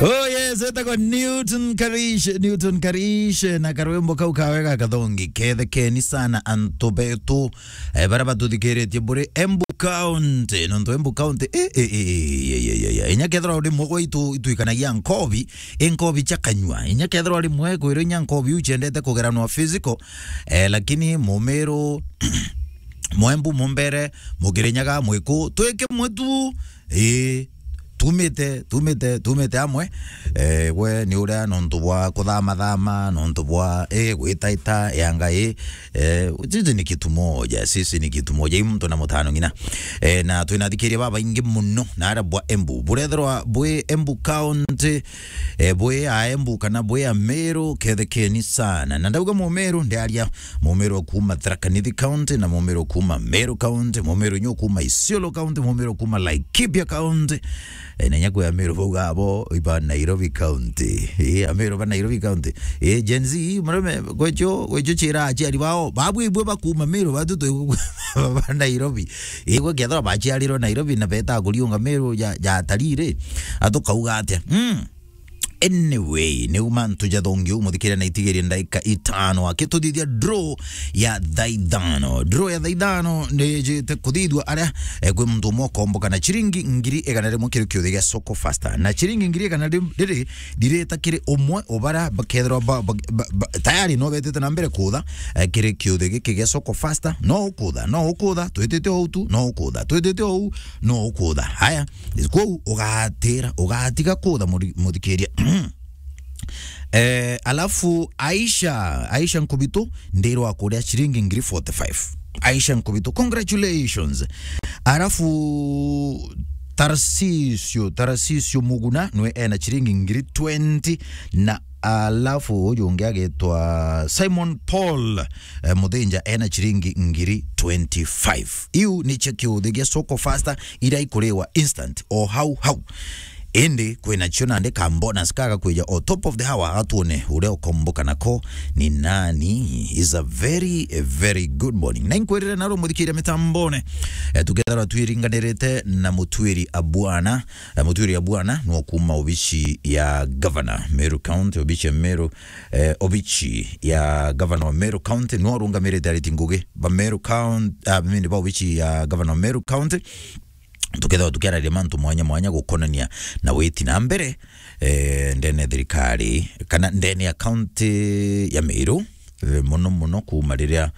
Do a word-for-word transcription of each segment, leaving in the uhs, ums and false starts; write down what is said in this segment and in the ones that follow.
Oh yes, etagwa Newton Karish, Newton Karish, na karwimbo kau kawe gakathongi kethekeni sana antu betu, eh, bara batuthikiritie buri Embu County, nontu Embu County, eh, eh, eh, eh, eh, eh, eh, eh. Inya kethirwa uri mwe gwitu itwikanagia nkobi, i nkobi cia kanyua. Inya kethirwa uri mwe kwirwo inya nkobi iu ciendete kugeranwa physical, eh, lakini Mumiru, Mwembu, Mumbere, Mukirinyaga, Mwiku, twike mwe tu, ii, tumite, tumite, tumite amwe. Eh, we ni uria nontu bwa kuthamathama, nontu bwa, eh, gwitaita, yanga, ii, eh, sisi ni kitu moja, sisi ni kitu moja, i muntu na mutano ng'ina. Eh, na twina athikiria babaingi muno na aria bwa Embu. Burethirwa bwi Embu County, eh, bwi a Embu kana bwi a Meru, kethekeni sana. Na ndauga Mumiru, ndiaria Mumiru kuuma Tharaka Nithi County, na Mumiru kuuma Meru County, Mumiru nyo kuuma Isiolo County, Mumiru kuuma Laikipia County. Eh, na inya kwi Ameru bauga abo iba Nairobi County. Eh, Ameru ba Nairobi County. Eh, Gen Z, murome, gwecho, gwecho chira achiari bao. Babu ibwe bakuuma Meru, batu twi ba Nairobi. Eh, gwe kethirwa bachiarirwe Nairobi na beta kuriunga Meru ja, ja atalii ri, atukauga atia? Mm. Anyway, niu mantu jathongi u muthikiria na itigirie ndaika itano akituthithia draw ya thaa ithano. Draw ya thaa ithano nijite kuthithua aria, eh, kwi muntu umwe ukomboka na chiringi ngiri igana rimwe kiri kiuthi gia Soko Fasta. Na chiringi ngiri igana ri-, riri ndirita kiri umwe ubara bakethirwa ba, ba, ba, ba, tayari no betite na mbere kutha, eh, kiri kiuthi giki gia Soko Fasta. No ukutha, no ukutha, twitite ou tu, no ukutha, twitite ou, no ukutha. Haya, kwou ugatira, ugatiga kutha muri-, muthikiria. Eh, alafu Aisha, Aisha Nkubitu, ndirwa kuria chiringi ngiri forty-five. Aisha Nkubitu, congratulations. Alafu Tarsisio, Tarsisio Muguna, nwe ena chiringi ngiri twenty, na alafu uyu ungi agitwa Simon Paul, eh, Muthinja, ena chiringi ngiri twenty-five. Iu nicio kiuthi gia Soko Fasta, iria ikuriwa instant, o hau hau. Indi kwina cio nandi ka bonus kaga kwija o top of the hour, atuone uria ukomboka nako ni nani. Is a very, a very good morning. Na inkwirire naro muthikiria mitambone, eh, tukethirwa twiringanirite na Mutwiri Abwana. Eh, Mutwiri Abwana nwo kuuma obici ya governor Meru County, obici ya Meru, eh, obici ya governor wa Meru County, nwo arungamirite ariti ngugi ba Meru County, ah, mini ba obici ya governor wa Meru County. Tukethirwa tukiararia mantu mwanya mwanya gukonania na witi na mbere, eh, ndene ya thirikari kana ndene ya county ya Meru, eh, muno muno kuuma riria,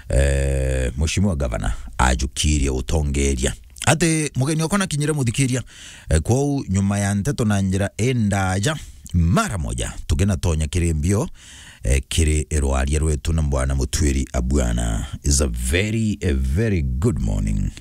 eh, Mheshimiwa Gavana ajukirie utongeria. Ati mugeni wakwa nakinyire muthikiria, eh, kwou nyuma ya nteto na njira indaja, mara moja tukinatonya kiri mbio, eh, kiri rwaria rwetu na Bwana Mutwiri Abwana. Is a very, a very good morning.